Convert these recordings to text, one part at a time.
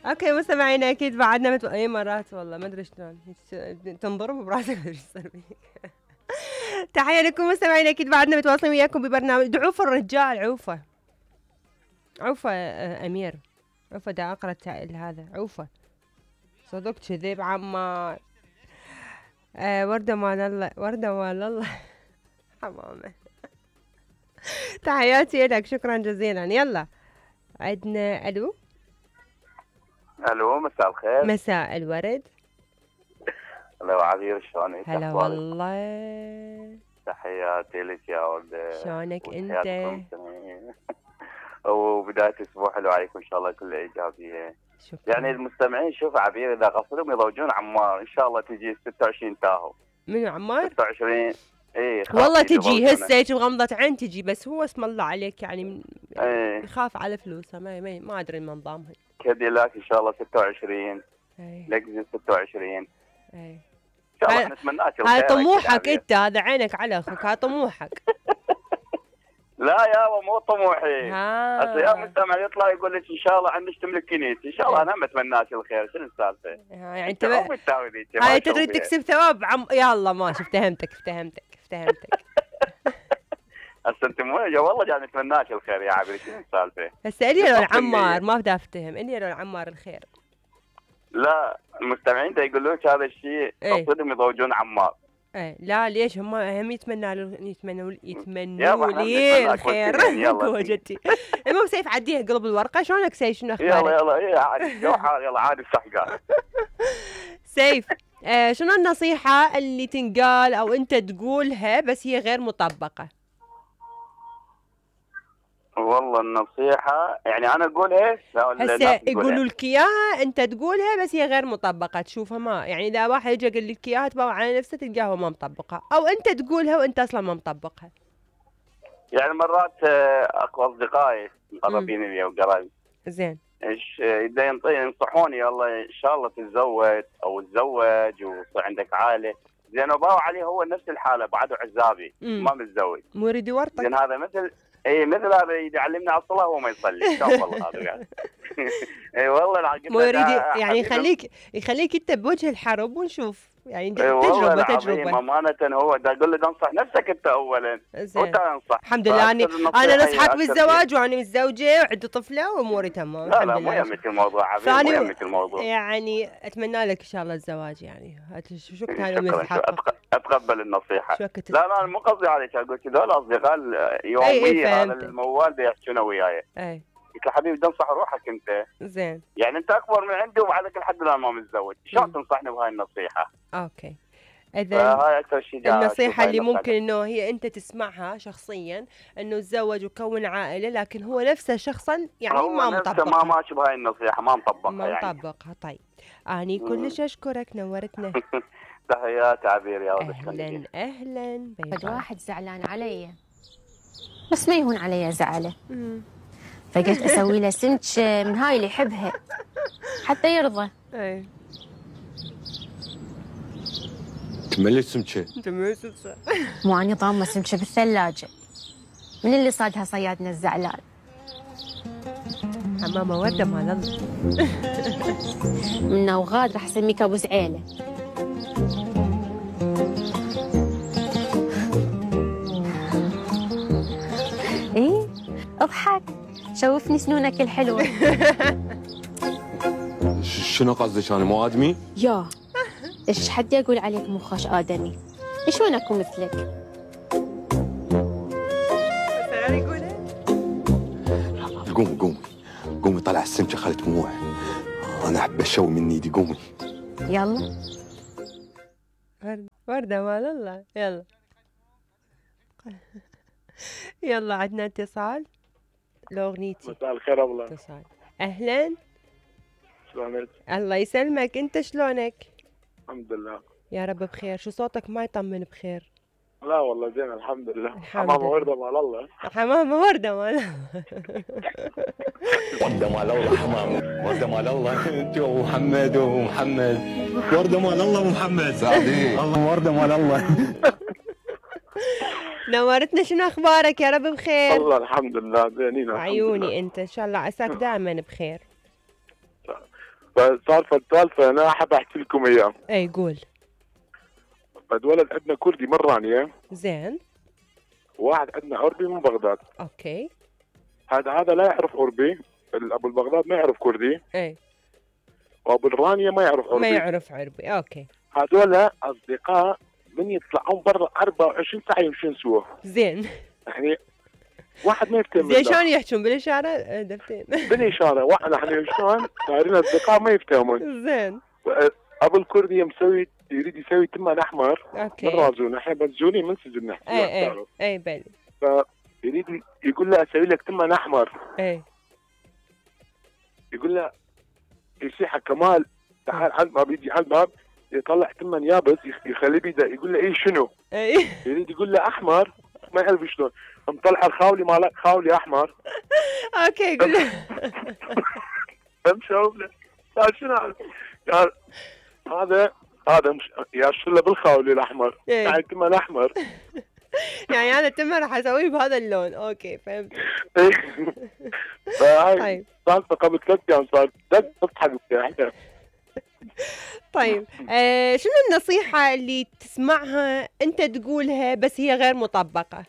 اوكي مستمعينا اكيد بعدنا اي مرات والله ما ادري شلون تنضرب براسك ما ادري ايش صار فيك. تحيه لكم مستمعينا اكيد بعدنا متواصلين وياكم ببرنامج عوفه الرجال عوفه امير عوفه دا اقرا التائل هذا عوفه صدق كذب عمار. ورده مال الله حمامه. تحياتي لك شكرا جزيلا. يلا عندنا الو مساء الخير. مساء الورد. هلا وعبير شلونك؟ هلا والله تحياتي لك يا ولد. شلونك انت؟ وبداية اسبوع حلو عليكم ان شاء الله كله ايجابيه. شكرا. يعني المستمعين شوف عبير اذا قصدهم يضوجون عمار ان شاء الله تجي 26 تاهو. منو عمار؟ 26 اي والله تجي هسه بغمضة عين تجي بس هو اسم الله عليك يعني يخاف على فلوسه ما ادري من نظامها. كاديلاك ان شاء الله 26 لكزس 26 ان شاء الله نتمنى لك الخير. هذا طموحك انت هذا عينك على اخوك هذا طموحك. لا يابا مو طموحي. هسه يا مستمع يطلع يقول لك ان شاء الله عندك تملك كنيسه ان شاء الله انا ما اتمنى لك الخير شنو السالفه؟ يعني انت هاي تريد تكسب ثواب يلا ماشي افتهمتك. هسه انت مو والله جاي نتمنى لك الخير يا عبير شنو السالفه؟ هسه الي لو العمار ما بدي افتهم الي لو العمار الخير. لا المستمعين دا يقولون لك هذا الشيء قصدهم يضوجون عمار. لا ليش هم يتمنوا لي الخير. وجدتي المهم سيف عديها قلب الورقه شلونك سيف شنو اخبارك؟ يلا عادي يلا عادي السحقان. سيف شنو النصيحه اللي تنقال او انت تقولها بس هي غير مطبقه؟ والله النصيحة يعني أنا أقولها هسه يقولوا لك إياها أنت تقولها بس هي غير مطبقة تشوفها ما يعني إذا واحد يجي يقول لك إياها تبغى على نفسه تلقاها هو ما مطبقها أو أنت تقولها وأنت أصلا ما مطبقها. يعني مرات أكو أصدقائي مقربين لي وقرايبي زين إيش ينصحوني والله إن شاء الله تتزوج أو تتزوج ويصير عندك عائلة زين وباو عليه هو نفس الحالة بعده عزابي ما متزوج مو يريد يورطك. زين هذا مثل هذا يعلمنا على الصلاه وهو ما يصلي شوف والله هذا يعني. اي والله مو يريد يعني يخليك انت بوجه الحرب ونشوف يعني تجربه امانه هو دا اقول له انصح نفسك انت اولا وانت انصح. الحمد لله انا نصحك بالزواج وانا متزوجه وعندي طفله واموري تمام. لا مو يمك الموضوع عبير مو يمك الموضوع يعني اتمنى لك ان شاء الله الزواج يعني شو شكرا اتقبل النصيحه. لا مو قصدي عليك اقول لك هذول اصدقاء يوميا على الموال بيحكون وياي قلت له حبيبي تنصح روحك انت زين يعني انت اكبر من عندي وبعدك لحد الان ما متزوج شلون تنصحني بهاي النصيحه؟ اوكي اذا النصيحه اللي ممكن انه هي انت تسمعها شخصيا انه تزوج وكون عائله لكن هو نفسه شخصا يعني ما مطبقها. ما ماشي بهاي النصيحه ما مطبقها. طيب اني كلش اشكرك نورتنا. تحياتي عبير يا ولد. اهلا فد واحد زعلان علي بس ما يهون علي زعله فقلت اسوي له سمك من هاي اللي يحبها حتى يرضى. تملي سمكه مو اني ضامه سمكه بالثلاجه من اللي صادها صيادنا الزعلان. حمامه ورده مال الله. منه وغاد راح اسميك ابو زعيله. ايه اضحك شوفني سنونك الحلوه. شنو قصدك انا مو ادمي؟ يا ايش حد يقول عليك مو خوش ادمي؟ شلون اكون مثلك؟ قومي طلع السمكه خلي دموع انا احب اشوي من ايدي قومي. يلا ورده مال الله. يلا عندنا اتصال لاغنيتي. مساء الخير والله. اتصال اهلا شلونك؟ الله يسلمك انت شلونك؟ الحمد لله يا رب بخير. شو صوتك ما يطمن بخير؟ لا والله زين الحمد لله. حمامه ورده مال الله. حمامه ورده مال الله. ورده مال الله حمامه ورده مال الله. انت ومحمد ورده مال الله ومحمد سعدي الله ورده مال الله. نورتنا شنو اخبارك يا رب بخير؟ والله الحمد لله زينين عيوني انت ان شاء الله عساك دائما بخير. فصار السالفه انا حاب احكي لكم اياه. اي قول. اتولد عندنا كردي من رانيا. زين. واحد عندنا عربي من بغداد. اوكي. هذا لا يعرف عربي، ابو البغداد ما يعرف كردي. اي. وابو الرانيا ما يعرف عربي. ما يعرف عربي، اوكي. هذول اصدقاء من يطلعون برا 24 ساعه يمشون سوا. زين. يعني واحد ما يفتهم. زين شلون يحجون بالاشاره دفتين؟ بالاشاره، واحد احنا شلون صايرين اصدقاء ما يفتهمون. زين. ابو الكردي مسوي يريد يسوي تمان احمر. اوكي. من رازون، احنا بنزونين من سجن نحكي. اي بلي. فيريد يقول له اسوي لك تمان احمر. اي. يقول له يصيح كمال تعال عند ما بيجي على الباب يطلع تمان يابس يخليه بيده، يقول له اي شنو؟ اي. يريد يقول له احمر ما يعرف شلون، مطلع الخاولي مالك خاولي احمر. اوكي يقول له امشوا له قال شنو قال هذا مش يا شله بالخاولي الاحمر يعني تمن احمر. يعني انا التمر راح اسويه بهذا اللون. اوكي فهمت. طيب سالفه قبل 3 ايام صار تضحك احنا. طيب شنو النصيحة اللي تسمعها أنت تقولها بس هي غير مطبقة؟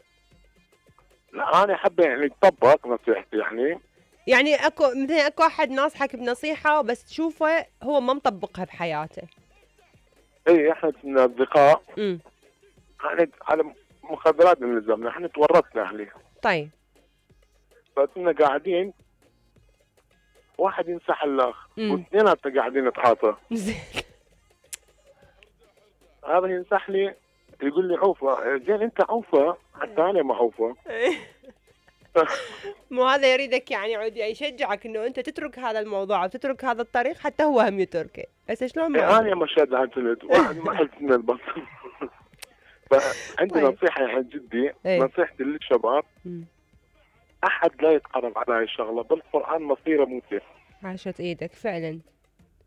لا أنا أحب يعني تطبق نصيحتي يعني أكو مثلا أكو أحد ناصحك بنصيحة بس تشوفه هو ما مطبقها بحياته. إيه إحنا كنا أصدقاء. يعني على مخدرات نلزمنا، إحنا تورطنا عليه. طيب. فكنا قاعدين واحد ينصح الاخ واثنيناتنا قاعدين نتعاطى. زين. هذا ينصح لي يقول لي عوفه، زين انت عوفه حتى انا ما عوفه. مو هذا يريدك يعني يعود يشجعك انه انت تترك هذا الموضوع وتترك هذا الطريق حتى هو هم يتركه، بس شلون ما انا ما شاد عن سند واحد ما حلت من البطل. فعندي نصيحه يعني جدي، نصيحتي للشباب احد لا يتقرب على هاي الشغله، بالقران مصيره موته. عاشت ايدك فعلا.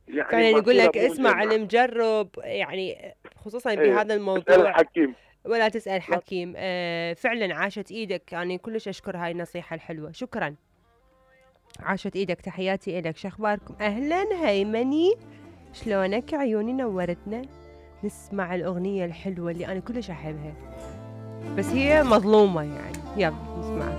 يعني فعلا يقول لك اسمع المجرب، يعني خصوصا بهذا الموضوع. تسأل الحكيم ولا تسأل حكيم. فعلا عاشت ايدك، يعني كلش اشكر هاي النصيحة الحلوة، شكرا. عاشت ايدك، تحياتي الك. شو اخباركم؟ اهلا هيمني، شلونك؟ عيوني نورتنا. نسمع الاغنية الحلوة اللي انا كلش احبها بس هي مظلومة يعني. يلا نسمعها.